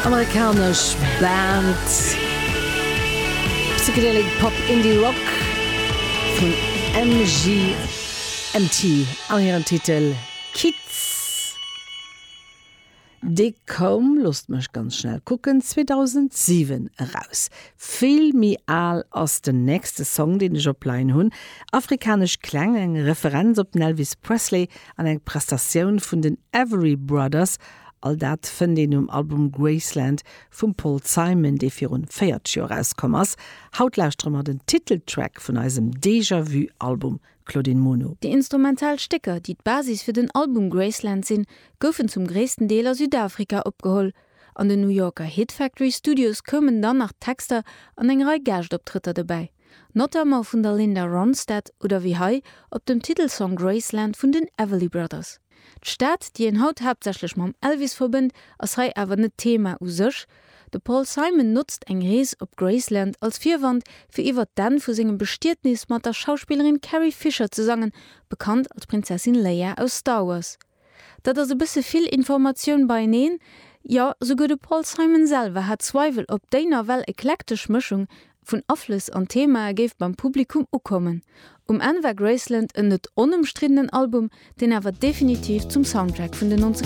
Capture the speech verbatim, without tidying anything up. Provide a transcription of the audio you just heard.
Amerikanesch Band Psychedelic Pop Indie Rock vun M G M T an hiren Titel Kids. Dee koum, loosst mech ganz schnell kucken, zweedausentsiwen eraus. Vill méi al ass den nächste Song, deen ech opleien hunn. Afrikanesch Kläng, eng Referenz op den Elvis Presley an eng Prestatioun vun den Everly Brothers. All dat fënnt een um Album Graceland vum Paul Simon, dee virun véierzeg Joer erauskomm ass. Haut lauschtere mer den Titeltrack vun eisem Déjà-vu Album, Claudine Muno. Déi instrumental Stécker, déi d'Basis fir den Album Graceland sinn, goufen zum gréissten Deel a Südafrika opgeholl. An den New Yorker Hit Factory Studios koumen dann nach Texter an eng Rei Gaaschtoptrëtter dobäi. Notamment vun der Linda Ronstadt oder wéi hei op dem Titelsong Graceland vun den Everly Brothers. D'Stad, déi een haut haaptsächlech mam Elvis verbënnt, ass hei awer net Thema u sech. De Paul Simon notzt eng Rees op Graceland als Virwand fir iwwer d'Enn vu sengem Bestietnis mat der Schauspillerin Carrie Fisher ze sangen, bekannt als Prinzessin Leia aus Star Wars. Dat ass e bësse vill Informatioun beieneen, jo, souguer de Paul Simon selwer hat Zweiwel, ob déi nawell eklektesch Mëschung vun Aflëss an Themae géif beim Publikum ukommen. Um Enn war Graceland en net onëmstriddenen Album, deen awer definitiv zum Soundtrack vun den nonzeger